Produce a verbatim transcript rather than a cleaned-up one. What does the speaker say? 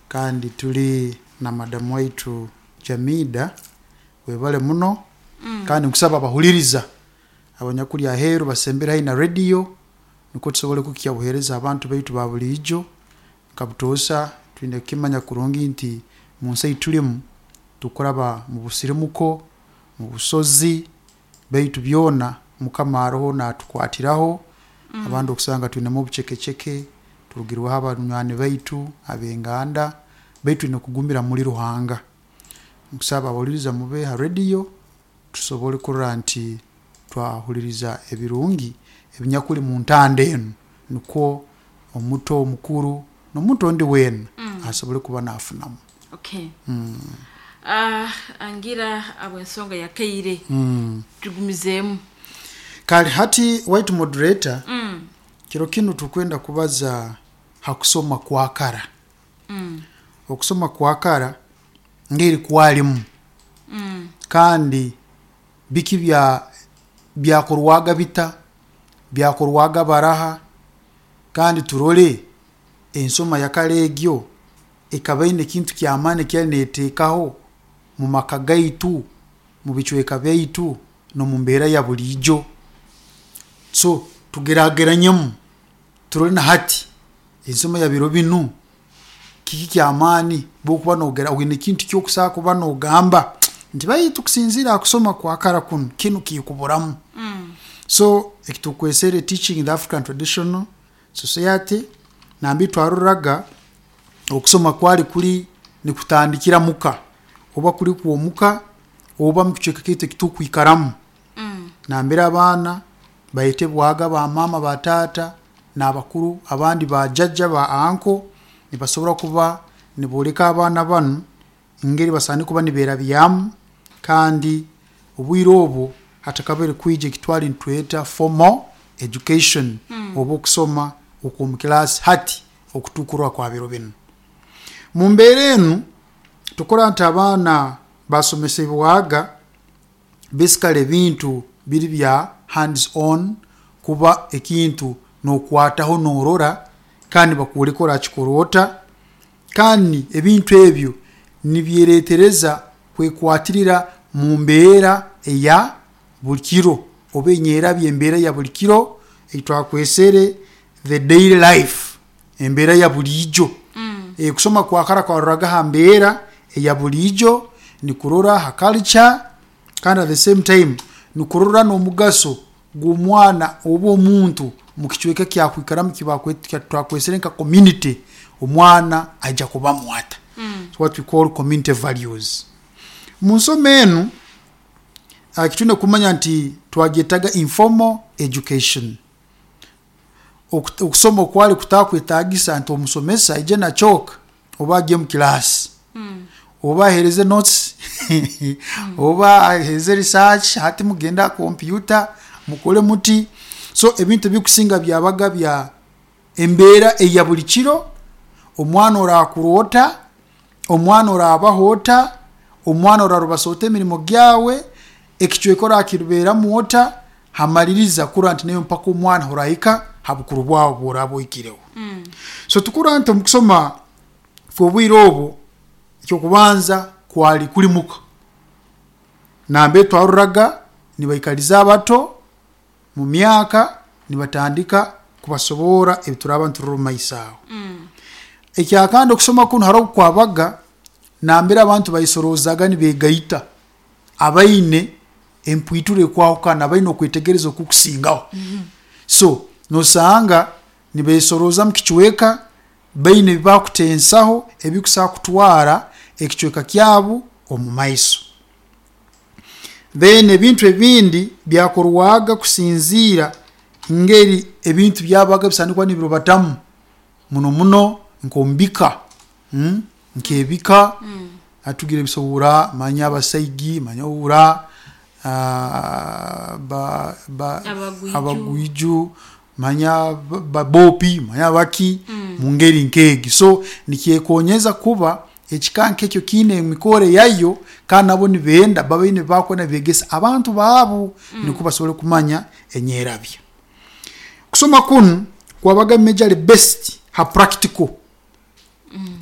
Kandi tuli na madamu waitu Jamida. Webale muno. Kandi nkusaba abahuliriza abanyakuli aheeru basembere haihi na radio, nikwo tusobole kukya buheereza abantu baitu ba buliijo. Nka butoosa twine kukimanya kurungi nti munsi eitulimu tukuraba mu busirimuko, mu busozi, baitu byona Mukama aroho natukwatiraho. Abandi okusanga twinemu obucekeceke, turugirweho abanywani baitu, ab'enganda, baitu twine kugumira muli Ruhanga. Nkusaba abahuliriza mube ha radio tusobole kurora nti twahuliriza ebirungi ebinyakuli mu ntanda enu, nikwo omuto, omukuru n'omuntu ondi weena asobole kuba nafunamu. Okay. Ah, angira abw'ensonga ya kaire, tugumizeemu. Kale hati waitu moderator, mm. kiro kinu tukwenda kubaza ha kusoma kwa kara. Mm. Okusoma kwa kara ngeri kwalimu, Mm. kandi biki bya byakorwaga bita, byakorwaga baraha, kandi turole ensoma ya kara egyo ekaba ine ekintu kyamaani ekyali neteekaho mu maka gaitu, mu bicweka byaitu, n'omu mbeera ya buliijo. So tugerageranyemu turole na hati ensoma ya biro binu kiki kyamaani bwokuba nogera oine ekintu kyokusobola kuba nogamba nti baitu kusinziira ha kusoma kwa kara kunu, kinu kikuburamu. Mm. So ekitukwesere Teaching in the African Traditional Society, nambiri twaroraga okusoma kwali kuli nikutandikira muka, oba kuli kwomuka oba mukicweka kyaitu ekitukwikaramu, Mm. nambere abaana bayetebwaga ba maama, ba taata n'abakuru abandi, ba jjajja, ba anko, nibasobora kuba nibooleka abaana banu engeri basaana kuba nibeerabyamu. Kandi obwire obwo hatakabire kwija ekitwali nitweta formal education, oba okusoma okw'omu kilaasi hati okutukurora kwa biro binu. Mu mbeera enu tukora nti abaana basomesebwaga basically ebintu biri bya hands on, kuba ekintu nokwataho norora kandi bakwoleka orakikora ota, kandi ebintu ebyo nibyeretereza kwekwatirira mu mbeera eya buli kiro, oba enyerabya embeera ya buli kiro eitwakwesere the daily life, embeera ya buliijo. Mm. E, kusoma kwa kara kwaroraga ha mbeera eya buliijo, nikurora ha culture, kandi at the same time nikurora n'omugaso gw'omwana oba omuntu mu kicweka kyakwikaramu twakwesere nka community, omwana aija kubamu ata. Mm. What we call community values. Mu nsoma enu uh, kitwine kumanya nti twagyetaga informal education, Oku- okusoma okwali kutakwetagisa nti omusomesa aije na chalk oba agye mu kilaasi, Mm. oba ahereze notes, oba ahereze research, hati mugende aha kompyuta mukole muti. So ebintu ebikusinga byabaga bya embeera eya buli kiro, omwana orakura ota, omwana orabaho ota, omwana orarubasa ota emirimo gyawe, ekicweka orakiruberamu ota, hamaliriza kurora nti newe mpaka omwana orahika ha bukuru bwawe bworaba ohikireho. Mm. So tukura nti omukusoma kw'obwire obwo, ekyokubanza kwali kuli muka, nambere twaroraga nibaikaliza abato mu myaka nibatandika kubasoborra ebituraba niturora omu maiso aho. Mm. Ekyakandi, okusoma kunu haroho obukwabaga nambere abantu baisorozaga nibegaita, abaine empwitura ekwahukana, abaine okwetegereza okukusingaho. So nosanga nibesoroza mu kicweka, baine ebibakutensaho ebikusobola kutwara ekicweka kyabu omu maiso. Then ebintu ebindi byakorwaga kusinziira ngeri ebintu byabaga bisaana kuba nibirubatamu, muno muno nk'omubika, mm? Nk'ebika. Mm. Atugire bisobora manya abasaigi, manya owura ah, ba, ba, Abagwiju. Abagwiju, manya babopi, manya baki, Mm. mu ngeri nk'egi. So nikyekonyeza kuba ekika nk'ekyo kiine emikoro yayo, kandi nabo nibenda babaine bakwenda begesa abantu baabu, nikwo basobole kumanya enyerabya. Kusoma kunu kwabaga majorly based ha practical. It was